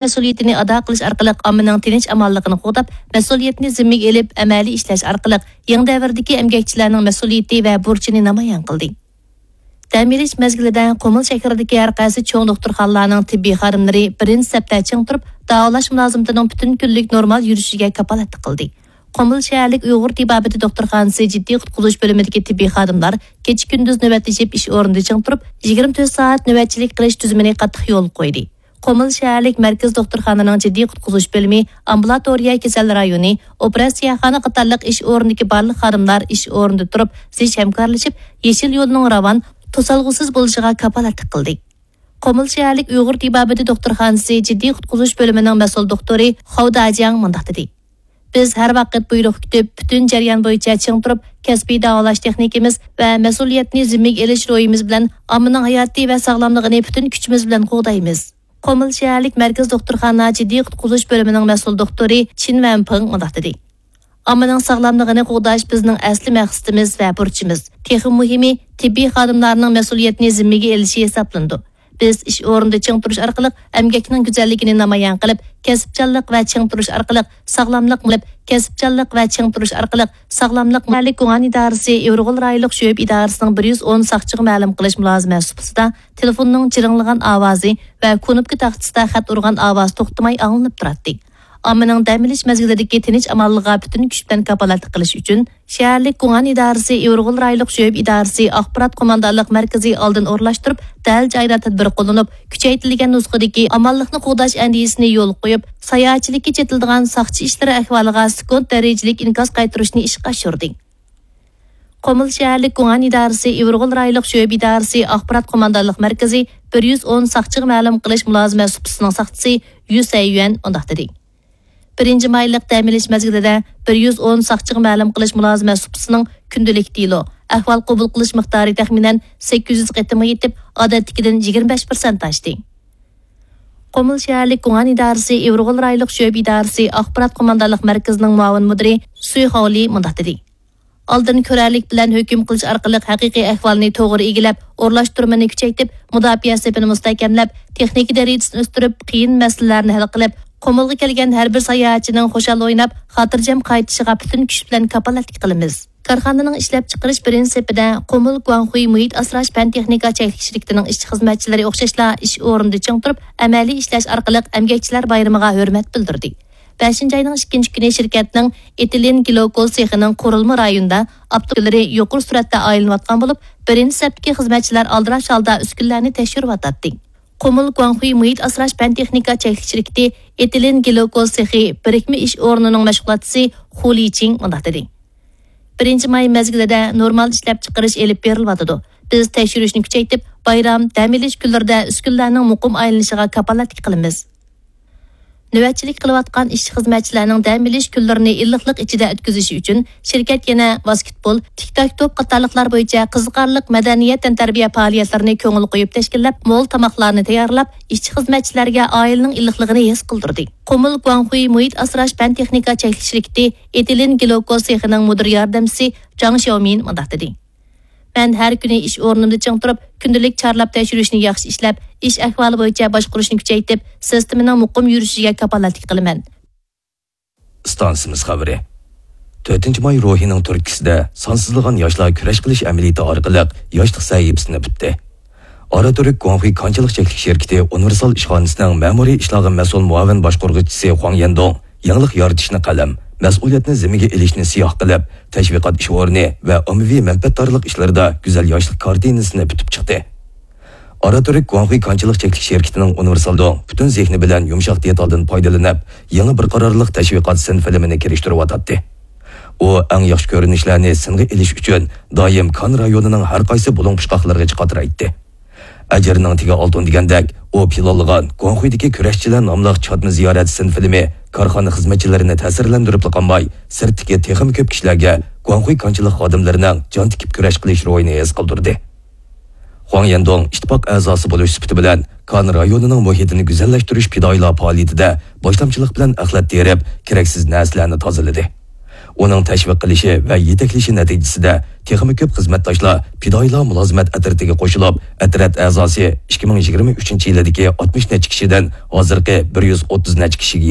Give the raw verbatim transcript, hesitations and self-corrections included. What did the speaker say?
مەسئۇلىيىتىنى ئادا قىلىش ئارقىلىق ئاممىنىڭ تىنچ-ئامانلىقىنى قوغداپ، مەسئۇلىيەتنى زىممىگە ئېلىپ، ئەمەلىي ئىشلەش ئارقىلىق يېڭى دەۋردىكى ئەمگەكچىلەرنىڭ مەسئۇلىيىتى ۋە بۇرچىنى نامايان قىلدى. دەم ئېلىش مەزگىلىدە قۇمۇل شەھىرىدىكى ھەر قايسى چوڭ دوختۇرخانىلارنىڭ تېببىي خادىملىرى بىرىنچى سەپتە چىڭ تۇرۇپ، داۋالاش مۇلازىمىتىنىڭ پۈتۈن كۈنلۈك نورمال يۈرۈشىگە كاپالەتلىك قىلدى. قۇمۇل شەھەرلىك ئۇيغۇر تېبابىتى دوختۇرخانىسى جىددىي قۇتقۇزۇش بۆلۈمىدىكى تېببىي خادىملار كېچە-كۈندۈز نۆۋەتلىشىپ ئىش ئورنىدا چىڭ تۇرۇپ، يىگىرمە تۆت سائەت نۆۋەتچىلىك قىلىش تۈزۈمىنى قاتتىق يولغا قويدى. قۇمۇل شەھەرلىك مەركىزىي دوختۇرخانىنىڭ جىددىي قۇتقۇزۇش بۆلۈمى، ئامبۇلاتورىيە، كېسەل رايونى، ئوپېراتسىيەخانا قاتارلىق ئىش ئورنىدىكى بارلىق خادىملار ئىش ئورنىدا تۇرۇپ، زىچ ھەمكارلىشىپ، يېشىل يولنىڭ راۋان، توسالغۇسىز بولۇشىغا كاپالەتلىك قىلدى. قۇمۇل شەھەرلىك ئۇيغۇر تېبابىتى دوختۇرخانىسى جىددىي قۇتقۇزۇش بۆلۈمىنىڭ مەسئۇل دوختۇرى خاۋ داجياڭ مۇنداق دېدى: بىز ھەر ۋاقىت بۇيرۇق كۈتۈپ، پۈتۈن جەريان بويىچە چىڭ تۇرۇپ، كەسپىي داۋالاش تېخنىكىمىز ۋە مەسئۇلىيەتنى زىممىگە ئېلىش روھىمىز بىلەن ئاممىنىڭ ھاياتى ۋە ساغلاملىقىنى پۈتۈن كۈچىمىز بىلەن قوغدايمىز. قۇمۇل شەھەرلىك مەركىزىي دوختۇرخانا جىددىي قۇتقۇزۇش بۆلۈمىنىڭ مەسئۇل دوختۇرى چىن ۋەنپىڭ مۇنداق دېدى: ئاممىنىڭ ساغلاملىقىنى قوغداش بىزنىڭ ئەسلى مەقسىتىمىز ۋە بۇرچىمىز. تېخىمۇ مۇھىمى، تېببىي خادىملارنىڭ مەسئۇلىيەتنى زىممىگە ئېلىشى ھېسابلىنىدۇ. بىز ئىش ئورنىدا چىڭ تۇرۇش ئارقىلىق ئەمگەكنىڭ گۈزەللىكىنى نامايان قىلىپ، كەسىپچانلىق ۋە چىڭ تۇرۇش ئارقىلىق ساغلاملىق قىلىپ، كەسىپچانلىق ۋە چىڭ تۇرۇش ئارقىلىق ساغلاملىق. مەھەللىك گۇڭئەن ئىدارىسى ئىۋىرغول رايونلۇق شۆبە ئىدارىسىنىڭ بىر يۈز ئون ساقچىغا مەلۇم قىلىش مۇلازىمەت سۇپىسىدا تېلېفوننىڭ جىرىڭلىغان ئاۋازى ۋە كۇنۇپكا تاختىسىدا خەت ئۇرغان ئاۋاز توختىماي ئاڭلىنىپ تۇراتتى. ئاممىنىڭ دەم ئېلىش مەزگىلىدىكى تىنچ-ئامانلىقىغا پۈتۈن كۈچ بىلەن كاپالەتلىك قىلىش ئۈچۈن، شەھەرلىك گۇڭئەن ئىدارىسى ئىۋىرغول رايونلۇق شۆبە ئىدارىسى ئاخبارات قوماندانلىق مەركىزى ئالدىن ئورۇنلاشتۇرۇپ، دەل جايىدا تەدبىر قوللىنىپ، كۈچەيتىلگەن نۇسخىدىكى ئامانلىقنى قوغداش ئەندىزىسىنى يولغا قويۇپ، ساياھەتچىلىككە چېتىلىدىغان ساقچى ئىشلىرى ئەھۋالىغا سېكۇنت دەرىجىلىك ئىنكاس قايتۇرۇشنى ئىشقا ئاشۇردى. قۇمۇل شەھەرلىك گۇڭئەن ئىدارىسى ئىۋىرغول رايونلۇق شۆبە ئىدارىسى ئاخبارات قوماندانلىق مەركىزى بىر يۈز ئون ساقچىغا مەلۇم قىلىش مۇلازىمەت سۇپىسىنىڭ ساقچىسى يۈ سەييۈەن مۇنداق دېدى: بىرىنچى مايلىق دەم ئېلىش مەزگىلىدە بىر يۈز ئون ساقچىغا مەلۇم قىلىش مۇلازىمەت سۇپىسىنىڭ كۈندىلىك دېلو، ئەھۋال قوبۇل قىلىش مىقدارى تەخمىنەن سەككىز يۈز قېتىمغا يېتىپ، ئادەتتىكىدىن يىگىرمە بەش پىرسەنت ئاشتى. قۇمۇل شەھەرلىك گۇڭئەن ئىدارىسى ئىۋىرغول رايونلۇق شۆبە ئىدارىسى ئاخبارات قوماندانلىق مەركىزىنىڭ مۇئاۋىن مۇدىرى سۈي خاۋلى مۇنداق دېدى: ئالدىن كۆرەرلىك بىلەن ھۆكۈم قىلىش ئارقىلىق ھەقىقىي ئەھۋالنى توغرا ئىگىلەپ، ئورۇنلاشتۇرمىنى كۈچەيتىپ، مۇداپىئە سېپىنى مۇستەھكەملەپ، تېخنىكا دەرىجىسىنى ئۆستۈرۈپ، قىيىن مەسىلىلەرنى ھەل قىلىپ، قۇمۇلغا كەلگەن ھەر بىر ساياھەتچىنىڭ خۇشال ئويناپ، خاتىرجەم قايتىشىغا پۈتۈن كۈچ بىلەن كاپالەتلىك قىلىمىز. كارخانىنىڭ ئىشلەپچىقىرىش بىرىنچى سېپىدە قۇمۇل گۇاڭخۇي مۇھىت ئاسراش پەن تېخنىكا چەكلىك شىركىتىنىڭ ئىشچى خىزمەتچىلىرى ئوخشاشلا ئىش ئورنىدا چىڭ تۇرۇپ، ئەمەلىي ئىشلەش ئارقىلىق ئەمگەكچىلەر بايرىمىغا ھۆرمەت بىلدۈردى. بەشىنچى ئاينىڭ ئىككىنچى كۈنى شىركەتنىڭ ئېتىلېن گلىكول سېخىنىڭ قۇرۇلما رايونىدا ئاپتوموبىللىرى يۇقىرى سۈرئەتتە ئايلىنىۋاتقان بولۇپ، بىرىنچى سەپتىكى خىزمەتچىلەر ئالدىراش ھالدا ئۈسكۈنىلەرنى تەكشۈرۈۋاتاتتى. قۇمۇل گۇاڭخۇي مۇھىت ئاسراش پەن تېخنىكا چەكلىك شىركىتى ئېتىلېن گلىكول سېخى بىرىكمە ئىش ئورنىنىڭ مەشغۇلاتچىسى خۇ لىچىڭ مۇنداق دېدى: بىرىنچى ماي مەزگىلىدە نورمال ئىشلەپچىقىرىش ئېلىپ بېرىلىۋاتىدۇ. بىز تەكشۈرۈشنى كۈچەيتىپ، بايرام، دەم ئېلىش كۈنلىرىدە ئۈسكۈنىلەرنىڭ مۇقىم ئايلىنىشىغا كاپالەتلىك قىلىمىز. نۆۋەتچىلىك قىلىۋاتقان ئىشچى-خىزمەتچىلەرنىڭ دەم ئېلىش كۈنلىرىنى ئىللىقلىق ئىچىدە ئۆتكۈزۈشى ئۈچۈن، شىركەت يەنە ۋاسكېتبول، تىك-تاك توپ قاتارلىقلار بويىچە قىزىقارلىق مەدەنىيەت تەنتەربىيە پائالىيەتلىرىنى كۆڭۈل قويۇپ تەشكىللەپ، مول تاماقلارنى تەييارلاپ، ئىشچى-خىزمەتچىلەرگە ئائىلىنىڭ ئىللىقلىقىنى ھېس قىلدۇردى. قۇمۇل گۇاڭخۇي مۇھىت ئاسراش پەن تېخنىكا چەكلىك شىركىتى ئېتىلېن گلىكول سېخىنىڭ مۇدىر ياردەمچىسى جاڭ شياۋمىن مۇنداق دېدى: مەن ھەر كۈنى ئىش ئورنۇمدا چىڭ تۇرۇپ، كۈندىلىك چارلاپ تەكشۈرۈشنى ياخشى ئىشلەپ، ئىش ئەھۋالى بويىچە باشقۇرۇشنى كۈچەيتىپ، سىستېمىنىڭ مۇقىم يۈرۈشىگە كاپالەتلىك قىلىمەن. ئىستانسىمىز خەۋىرى. تۆتىنچى ماي روھىنىڭ تۈرتكىسىدە سانسىزلىغان ياشلار كۈرەش قىلىش ئەمەلىيىتى ئارقىلىق ياشلىق سەھىپىسىنى پۈتتى. ئاراتۈرك گۇاڭخۇي كانچىلىق چەكلىك شىركىتى ئۇنىۋېرسال ئىشخانىسىنىڭ مەمۇرىي ئىشلارغا مەسئۇل مۇئاۋىن باشقۇرغۇچىسى خۇاڭ يەندۇڭ يېڭىلىق يارىتىشنى قەلەم، مەسئۇلىيەتنى زىممىگە ئېلىشنى سىياھ قىلىپ، تەشۋىقات ئىش ئورنى ۋە ئاممىۋى مەنپەئەتدارلىق ئىشلىرىدا گۈزەل ياشلىق كارتىنىسىنى پۈتۈپ چىقتى. ئاراتۈرك گۇاڭخۇي كانچىلىق چەكلىك شىركىتىنىڭ ئۇنىۋېرسال دوڭ پۈتۈن زېھنى بىلەن يۇمشاق دېتالدىن پايدىلىنىپ، يېڭى بىر قارارلىق تەشۋىقات سىن فىلىمىنى كىرىشتۈرۈۋاتاتتى. ئۇ ئەڭ ياخشى كۆرۈنۈشلەرنى سىنغا ئېلىش ئۈچۈن دائىم كان رايونىنىڭ ھەر قايسى بۇلۇڭ-پۇچقاقلىرىغىچە قاترايتتى. ئەجىرنىڭ تېگى ئالتۇن دېگەندەك، ئۇ پىلانلىغان گۇاڭخۇيدىكى كۈرەشچىلەر ناملىق چاتما زىيارەت سىن فىلىمى كارخانا خىزمەتچىلىرىنى تەسىرلەندۈرۈپلا قالماي، سىرتتىكى تېخىمۇ كۆپ كىشىلەرگە گۇاڭخۇي كانچىلىق خادىملىرىنىڭ جان تىكىپ كۈرەش قىلىش روھىنى ھېس قىلدۇردى. خۇاڭ يەندۇڭ ئىتتىپاق ئەزاسى بولۇش سۈپىتى بىلەن كان رايونىنىڭ مۇھىتىنى گۈزەللەشتۈرۈش پىدائىيلار پائالىيىتىدە باشلامچىلىق بىلەن ئەخلەت تېرىپ، كېرەكسىز نەرسىلەرنى تازىلىدى. ئۇنىڭ تەشۋىق قىلىشى ۋە يېتەكلىشى نەتىجىسىدە تېخىمۇ كۆپ خىزمەتداشلار پىدائىيلار مۇلازىمەت ئەترىتىگە قوشۇلۇپ، ئەترەت ئەزاسى ئىككى مىڭ يىگىرمە ئۈچىنچى يىلىدىكى ئاتمىش نەچچە كىشىدىن ھازىرقى بىر يۈز ئوتتۇز نەچچە كىشىگە